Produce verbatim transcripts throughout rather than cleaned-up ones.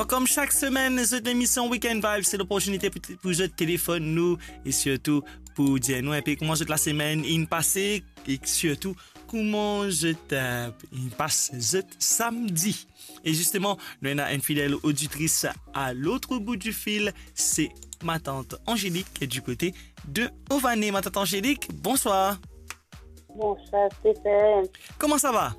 Kom sak semenn, zot lemision Weekend Vibe, se loportinite pou, pou zot telefonn nou e sirtou pou dir nou inpe kouma zot lasemenn inn pase e sirtou kouma zot, eh, inn pas zot samdi. E zisteman, nou ena enn fidel oditris a lot bout di fil, se matant Angélique du kote de Ované. Matant Angélique, bonswar. Bonswar, Stéphane. Kouma sa va?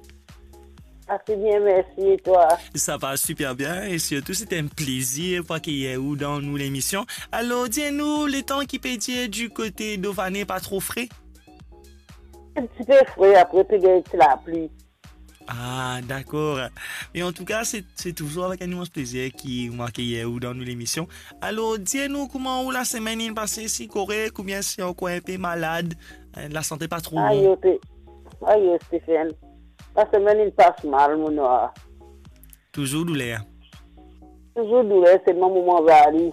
Ase bien, mersi. E twa? Sa va siper bien e sirtou, se enn plezir pou akeyir ou dan nou lemision. Alor, dir nou, letan ki pe dir di kote d'Ované, pa tro fre? Enn tipe fre, apre pe gagn ti lapli. Ah, dakor. Me antouka, se, se touzour avek enn imans plezir ki mo akeyir ou dan nou lemision. Alor, dir nou kouma ou lasemenn inn pase, si korek oubien si ankor inpe malad, eh, lasante pa tro bon. Ayo, te, ayo, Stéphane. Lasemenn inn pas mal, mo nwar. Touzour douler? Touzour douler, selman mo manz li.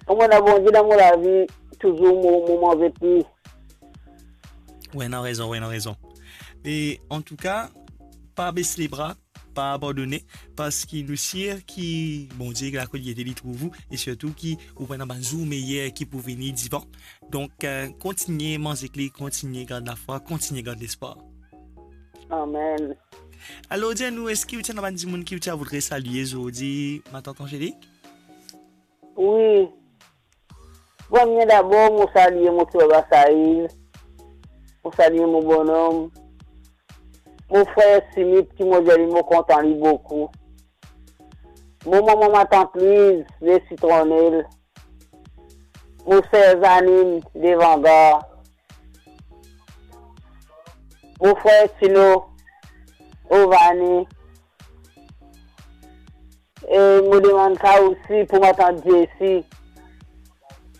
Kouma ena Bondie dan mo lavi, touzour mo, mo manze pli. Ou ena rezon, ou ena rezon. E antouka, pa bes lebra, pa abandone, parski nou sir ki Bondie, lakoliete, li trouv ou, e sirtou ki ou pou ena bann zour meyer ki pou vini divan. Donk, eh, kontigne manz ek li, kontigne gard lafwa, kontigne gard lespwar. Amen. Alor, dir nou, eski ou ti ena bann dimoun ki ou ti a voudre salie zordi, matant Angélique? Wi. Premie dabor, mo salie mo ti baba Saïl. Mo salie mo bonom. Mo frer Simit, ki mo dir li mo kontan li boukou. Mo mama, matant Louise, Lesitronnel. Mo ser Zanine, Levangar. Mo frer Tino, Ované. E mo demann sa osi pou matant Jessie,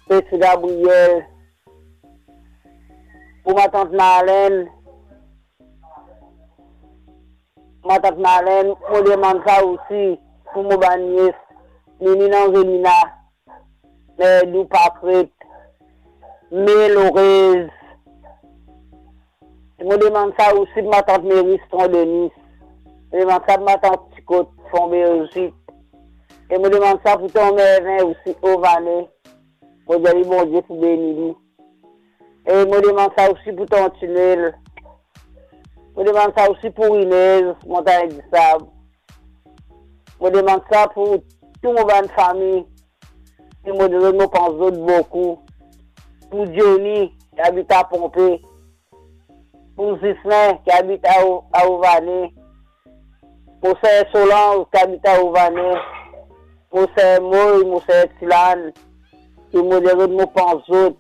Peti Gabriel, pou matant Marlène, matant Marlène, mo demann sa osi pou mo bann nies, Nini, Angelina, Merdou, Pakret, Me, Lorez. Mo demann sa osi pou matant Meri, Sitron Denis. Mo demann sa pou matant Tikot, Fon Berzit. E mo demann sa pou ton Mervin osi, Ované. Mo dir li Bondie pou beni li. E mo demann sa osi pou ton Tinel. Mo demann sa osi pou Inez, Montagn Disab. Mo demann sa pou tou mo bann fami. E mo dir zot mo pans zot boukou. Pou Johnny, ki abit a Ponpe. Pou Zislin, ki abit a O-, a Ované. Mo ser Solange, ki abit a Ované. Mo ser Moy, mo ser Tilan. E mo dir zot mo pans zot.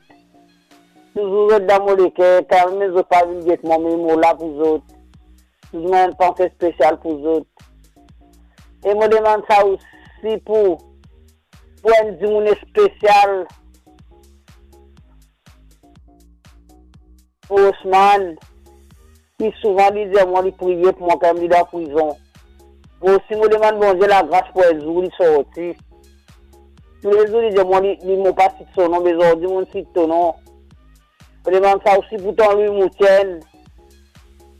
Touzour zot dan mo leker, kanmem zot pa vinn get mwa, me mo la pou zot. Touzour mo enn panse spesial pou zot. E mo demann sa osi pou, pou enn dimoun spesial, pou Osman, ki souvan li dir mwa li priye pou mwa kan li dan prizon. Mo osi mo demann Bondie lagras pou enn zour li sorti. Toulezour li dir mwa li, li mo pa sit so nom, me zordi mo sit to nom. Mo demann sa osi pou ton Lwi Moutienn,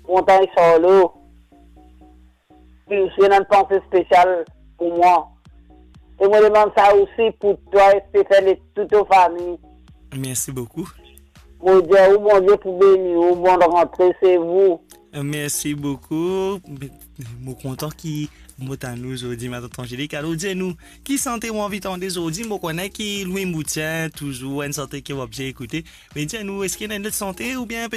Montagn Sarlo. Li osi ena enn panse spesial pou mwa. E mo demann sa osi pou twa, Stéphane, e tou to fami. Mersi boukou. Mo dir ou, Bondie pou beni ou, bonn rantre, se vou. Mersi boukou. Mo kontan ki mo tann ou zordi, matant Angélique. Alor, dir nou, ki sante ou anvi tande zordi? Mo kone ki Lwi Moutienn, touzour enn sante ki ou obze ekoute. Me dir nou, eski ena enn lot sante oubien